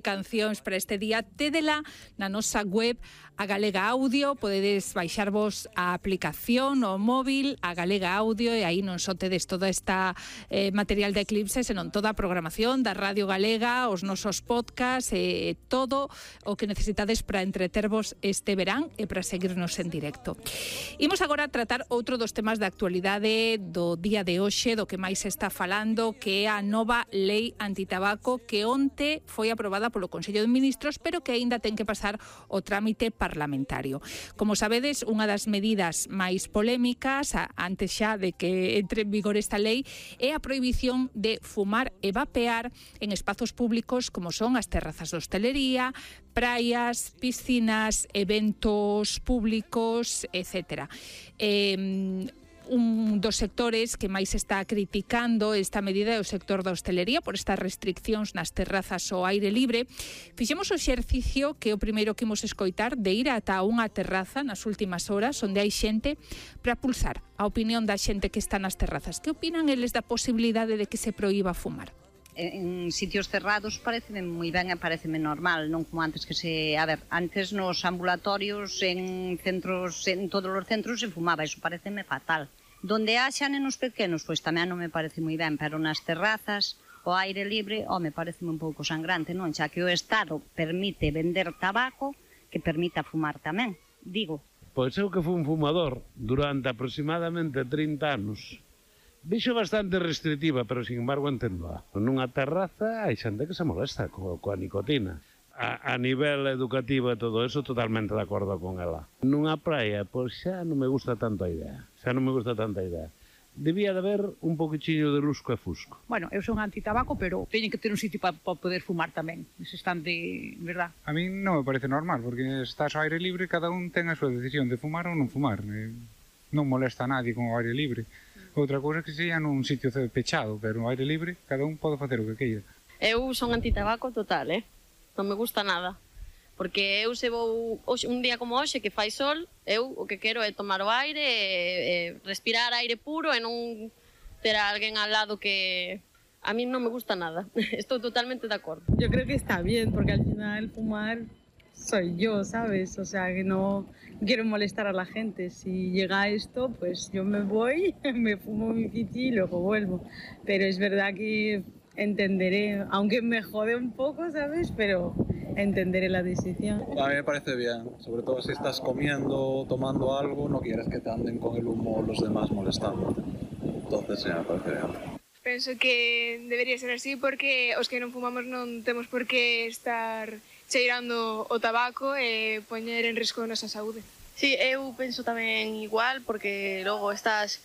Cancións para este día, tédela na nosa web a Galega Audio. Podedes baixarvos a aplicación o móvil a Galega Audio e aí non só tedes toda esta material de Eclipse, senón toda a programación da Radio Galega, os nosos podcasts e todo o que necesitades para entretervos este verán e para seguirnos en directo. Imos agora a tratar outro dos temas de actualidade do día de hoxe, do que máis se está falando, que é a nova lei antitabaco que onte foi aprobada polo Consello de Ministros, pero que aínda ten que pasar o trámite parlamentario. Como sabedes, unha das medidas máis polémicas, antes xa de que entre en vigor esta lei, é a prohibición de fumar e vapear en espazos públicos como son as terrazas de hostelería, praias, piscinas, eventos públicos, etc. Un dos sectores que máis está criticando esta medida é o sector da hostelería por estas restriccións nas terrazas ao aire libre. Fixemos o exercicio, que é o primeiro que imos escoitar, de ir ata unha terraza nas últimas horas onde hai xente para pulsar a opinión da xente que está nas terrazas. Que opinan eles da posibilidade de que se proíba fumar? En sitios cerrados pareceme moi ben e pareceme normal, non como antes que se... A ver, antes nos ambulatorios, en centros, en todos os centros se fumaba, iso pareceme fatal. Donde haxa nenos pequenos, pois tamén non me parece moi ben, pero nas terrazas, o aire libre, me pareceme un pouco sangrante, non? Xa que o Estado permite vender tabaco, que permita fumar tamén, digo. Pois eu que fui un fumador durante aproximadamente 30 anos. Vixo bastante restrictiva, pero sin embargo entendoa. Nunha terraza hai xente que se molesta coa nicotina. A nivel educativo e todo eso, totalmente de acordo con ela. Nunha praia, pois xa non me gusta tanto a idea. Debía de haber un poquichiño de lusco e fusco. Bueno, eu son antitabaco, pero teñen que ter un sitio para poder fumar tamén. Ese estante, verdad? A mí non me parece normal, porque estás ao aire libre, cada un ten a súa decisión de fumar ou non fumar. Non molesta a nadie con o aire libre. Outra cousa que sería nun sitio pechado, pero no aire libre, cada un pode facer o que queira. Eu son antitabaco total, non me gusta nada. Porque eu se vou un día como hoxe que fai sol, eu o que quero é tomar o aire, respirar aire puro e non ter a alguén al lado que... A mí non me gusta nada. Estou totalmente de acordo. Yo creo que está bien, porque al final fumar soy yo, ¿sabes? O sea, que no quiero molestar a la gente. Si llega esto, pues yo me voy, me fumo mi pichi y luego vuelvo. Pero es verdad que entenderé, aunque me jode un poco, ¿sabes? Pero entenderé la decisión. A mí me parece bien, sobre todo si estás comiendo, tomando algo, no quieres que te anden con el humo los demás molestando. Entonces, sí, me parece bien. Penso que debería ser así porque os que non fumamos non temos por que estar cheirando o tabaco e poñer en risco a nosa saúde. Sí, eu penso tamén igual porque logo estás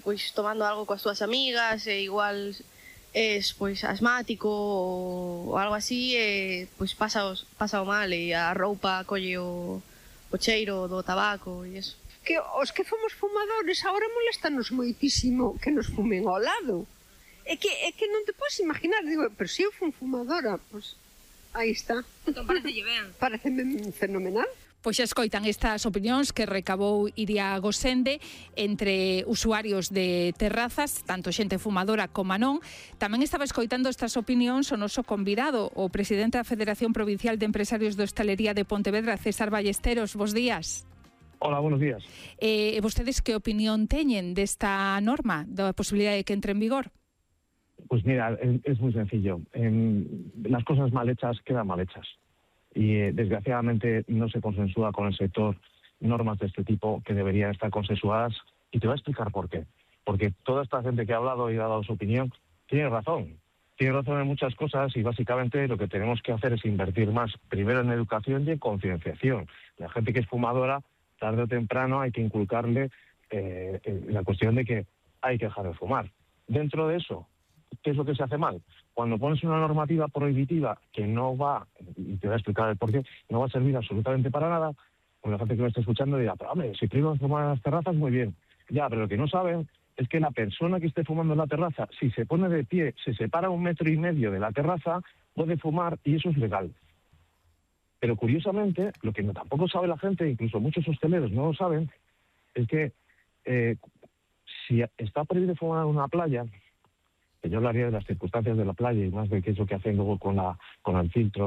pois tomando algo coas túas amigas e igual es pois asmático ou algo así e pois pasa o mal e a roupa colle o cheiro do tabaco e eso. Que os que fomos fumadores agora molestanos moitísimo que nos fumen ao lado. É que non te podes imaginar, digo, pero se eu fun fumadora, pois aí está. Entón parecelle ben. Pareceme fenomenal. Pois xa escoitan estas opinións que recabou Iria Gosende entre usuarios de terrazas, tanto xente fumadora como non. Tamén estaba escoitando estas opinións o noso convidado, o presidente da Federación Provincial de Empresarios de Hostalería de Pontevedra, César Ballesteros. Bos días. Hola, buenos días. Vostedes que opinión teñen desta norma, da posibilidade de que entre en vigor? Pues mira, es muy sencillo. Las cosas mal hechas quedan mal hechas. Y desgraciadamente no se consensúa con el sector normas de este tipo que deberían estar consensuadas. Y te voy a explicar por qué. Porque toda esta gente que ha hablado y ha dado su opinión tiene razón. Tiene razón en muchas cosas y básicamente lo que tenemos que hacer es invertir más, primero en educación y en concienciación. La gente que es fumadora, tarde o temprano hay que inculcarle la cuestión de que hay que dejar de fumar. Dentro de eso, ¿qué es lo que se hace mal? Cuando pones una normativa prohibitiva que no va, y te voy a explicar el porqué, no va a servir absolutamente para nada, pues la gente que me está escuchando dirá, pero hombre, si prohíbes fumar en las terrazas, muy bien. Ya, pero lo que no saben es que la persona que esté fumando en la terraza, si se pone de pie, se separa 1,5 metros de la terraza, puede fumar y eso es legal. Pero curiosamente, lo que tampoco sabe la gente, incluso muchos hosteleros no lo saben, es que si está prohibido fumar en una playa, que yo hablaría de las circunstancias de la playa y más de qué es lo que hacen luego con el filtro